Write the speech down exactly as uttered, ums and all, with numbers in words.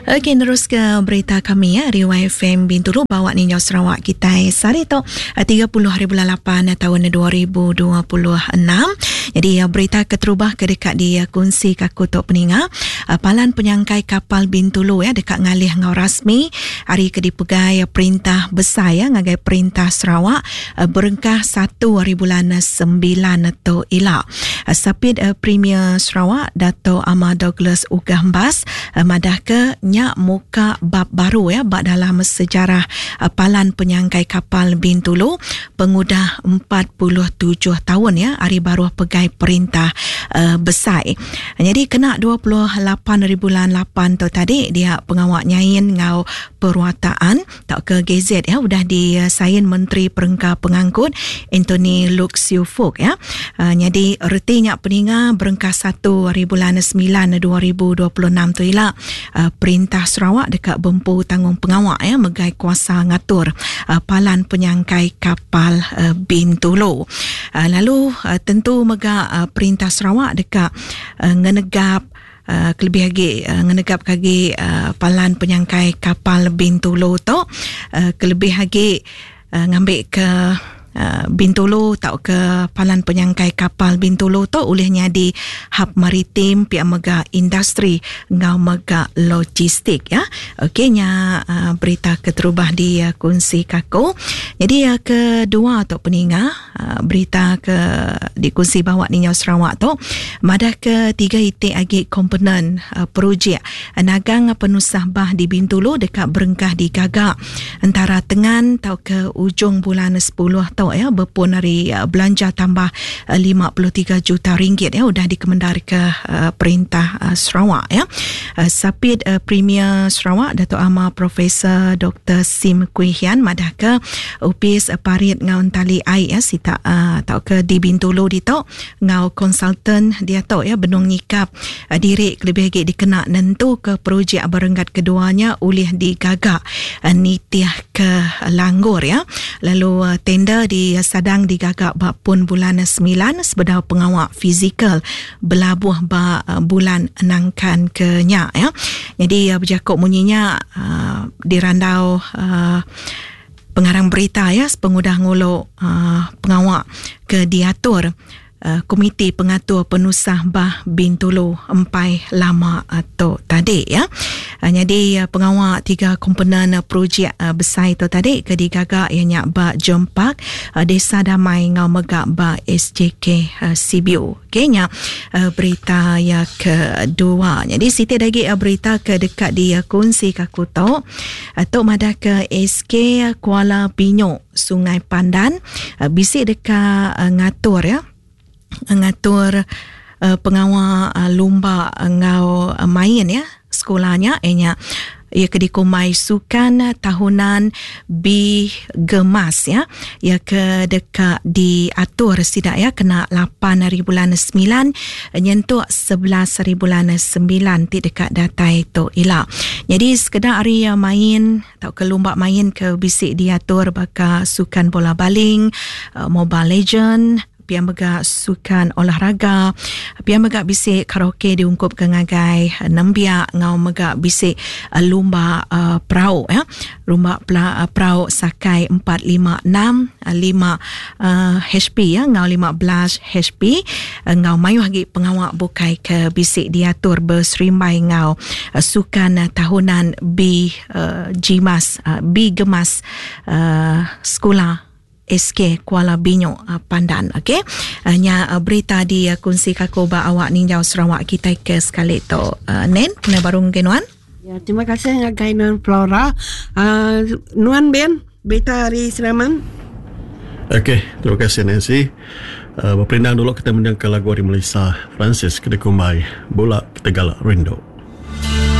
Okey, terus ke berita kami ya, dari Y F M Bintulu bawa ninjau Sarawak kita sehari tu tiga puluh hari bulan lapan tahun dua ribu dua puluh enam. Jadi berita keterubah ke dekat di kongsi kaku tok peninga, palan penyangkai kapal Bintulu ya dekat ngalih ngau rasmi hari ke dipegai perintah besar ya ngagai perintah Sarawak berengkah satu hari bulan sembilan tu ila. Sapit Premier Sarawak Dato' Amar Douglas Uggah Embas madah ke nya muka bab baru ya bab dalam sejarah palan penyangkai kapal Bintulu pengudah empat puluh tujuh tahun ya hari baru pegai perintah uh, besar. Jadi kena dua puluh lapan hari bulan lapan tu tadi dia pengawak nyain ngau perwataan tak ke G Z ya udah disain Menteri Perengka Pengangkut Anthony Loke Siew Fook ya. Uh, jadi retinya peninga berengkah satu hari bulan sembilan dua ribu dua puluh enam tu ila uh, perintah Sarawak dekat bempu tanggung pengawak ya megai kuasa ngatur uh, palan penyangkai kapal uh, Bintulu. Uh, lalu uh, tentu mega uh, perintah Sarawak dekat uh, ngenegap Uh, kelebih lagi uh, ngenegap lagi uh, palan penyangkai kapal Bintulu tu uh, kelebih lagi uh, ngambil ke Uh, Bintulu tau ke palan penyangkai kapal Bintulu tu olehnya di hub maritim pihak mega industri ngau mega logistik ya. Okey nya uh, berita keterubah di uh, kongsi kako. Jadi uh, kedua tu peninga uh, berita ke dikongsi bawa ni Sarawak tu madah ke tiga itik agi komponen uh, projek uh, nagang penusah bah di Bintulu dekat berengkah di Gagak antara tengan tau ke ujung bulan sepuluh tu ya berpun hari uh, belanja tambah uh, lima puluh tiga juta ringgit ya udah dikemendar ke uh, perintah uh, Sarawak ya. Uh, Sapit uh, Premier Sarawak Dato' Amar Profesor Doktor Sim Kui Hian madah ke upis uh, parit ngau tali air ya sita uh, tau ke di Bintulu ditok ngau konsultan dia tok ya benung nyikap uh, diri lebih lagi dikena nentu ke projek berenggat keduanya oleh digagak uh, nitiah ke langgur ya. Lalu uh, tender di sadang digagak bak pun bulan sembilan sebedau pengawak fizikal belabuh bak bulan nangkan ke nyak ya. Jadi berjakuk bunyinya uh, dirandau uh, pengarang berita ya sepengudah nguluk uh, pengawak ke diatur Uh, Komiti Pengatur Penusah Bah Bintulu empai lama atau tadi ya. Uh, jadi uh, pengawak tiga komponen uh, projek uh, besar itu tadi ke digagak ianya ba Jempak, uh, Desa Damai ngau megak ba S J K uh, C B U. Okey nya uh, berita ya kedua. Jadi siti lagi uh, berita ke dekat di uh, kongsi kaku tok. Uh, tok madah ke S K Kuala Binyok Sungai Pandan uh, bisik dekat uh, ngatur ya. Ngatur uh, pengawal uh, lumba ngau uh, main ya sekolahnya enya ia ke dikumai sukan tahunan B Gemas ya ia ke dekat diatur sidak ya kena lapan hari bulan sembilan nyentuk sebelas hari bulan sembilan ti dekat datai tu ila. Jadi sekedar hari main atau ke lumba main ke bisik diatur baka sukan bola baling, uh, Mobile Legend, pian mega sukan olahraga, pian mega bisik karaoke diungkup ke ngagai nembiak ngau mega bisik uh, lumba uh, perau ya. Lumba pela, uh, perau sakai empat lima enam lima uh, H P ya ngau lima belas H P uh, ngau mayuh lagi pengawak bukai ke bisik diatur berserimbai ngau uh, sukan uh, tahunan B uh, G-Mas uh, B Gemas uh, sekolah S K Kuala Binyok uh, Pandan. Okey. Uh, nya uh, berita di uh, kongsi kako ba awak ninjau Sarawak kita ke sekali tu. Uh, Nen, kena baru ngenuan. Ya, terima kasih ngagai Nuan Flora. Uh, Nuan Ben, berita hari Seraman. Okey, terima kasih Nancy. Uh, berperindang dulu kita mendengar lagu dari Melissa Francis Kedekumbai, Bola Kita Galak Rindu.